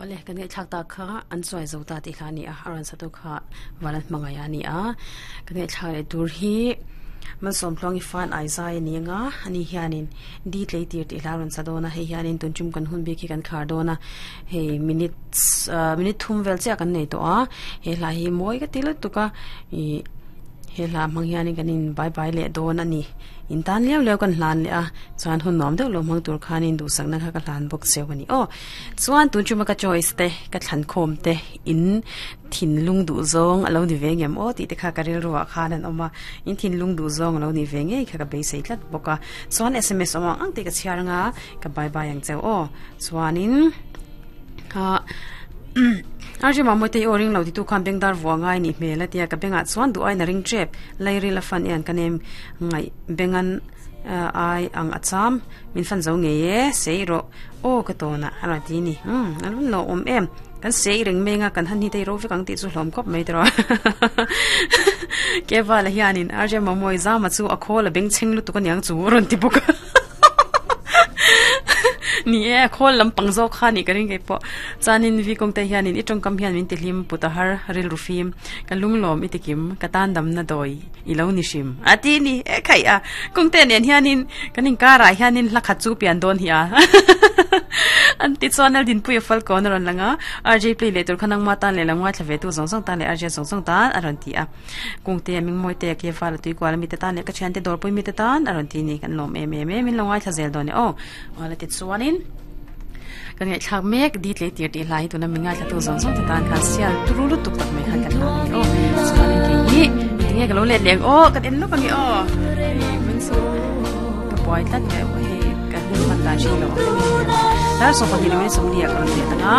Awle, kan ngaihthlak tak kha an chuai zo ta tih hla a ni a, a rawn satu kha Valan hmangaih a ni a. Kan ngaihthlak leh tur hi Malsawmtluangi fan ai zai a ni anga, ani hianin di tlei tir tih hla a rawn sa dawn a, hei hianin tun tum kan hun bik hi kan khar dawn a, hei minutes ah minute thum vel chiah kan nei tawh a, he hla hi mawi ka ti lutuk a, ih he hla hmang hianin kan in bye bye leh dawn a ni. In tan liau liau kan hlan leh a, chuan hun nuam deuh lo hmang tur khanin duhsakna kha ka hlan bawk cheu a ni aw. Chuan tun chuma ka choice te, ka thlan khawm te, in thinlung duh zawng a lo ni ve ngem aw tih te kha ka rilru ah khan an awm a, in thinlung duh zawng a lo ni ve ngei kha ka beisei tlat bawk a. Chuan sms awm ang ang tih ka chhiar anga ka bye bye ang cheu aw. Chuanin ah RJ Mamawite i aw ring lo titu khan bengdar vuah ngai nih hmel a tia ka bengah chuan duh aiin a ring tep lairil a fan hian ka nem ngaih bengan ai ang a cham min fan zo ngei e sei rawh aw ka tawn ah a rawn ti ni umm a rawn lo awm em kan sei reng meng a kan han hi te ro vek ang tih chu hlawm khawp mai tawh Kevala hianin RJ Mamawi zama chu a khawl a bengchheng lutuk aniang chu a rawn ti bawk a. Ni e, a khawl lampang zawk kha nih ka ring kei pawh. Chuanin vi kawng te hianin i tawngkam hian min ti hlim put a har rilru fim, ka lunglawm i tikim, ka tan damna dawi i lo ni hrim a ti ni e khaih a. Kawng te nen hianin kan inkarah hianin hla khat chu pian dawn hi a an ti chuan Laldinpuia Falkawn a rawn lang a, RJ play leh tur kha nangma tan leh lo ngaithla ve tu zawng zawng tan leh RJ zawng zawng tan a rawn ti a. Kungte a mingmawi te a ke val a tui kual a mite tan leh ka thiante dawrpui mite tan a rawn ti ni kan lawm em em e min lo ngaithla zel dawn e aw awle tichuanin kan ngaihthlak mek di tlei tir tih hlai hi tuna min ngaithla tu zawng zawng te tan khan sial turu lutuk tak mai khan kan hla mai aw chuanin kei hi tinge ka lo let leng aw kan en lawk ange aw hei min chu ka buai tlat mai hei ka hun hman dan hri lo ang dar 22 minute 40 ka rawn let anga.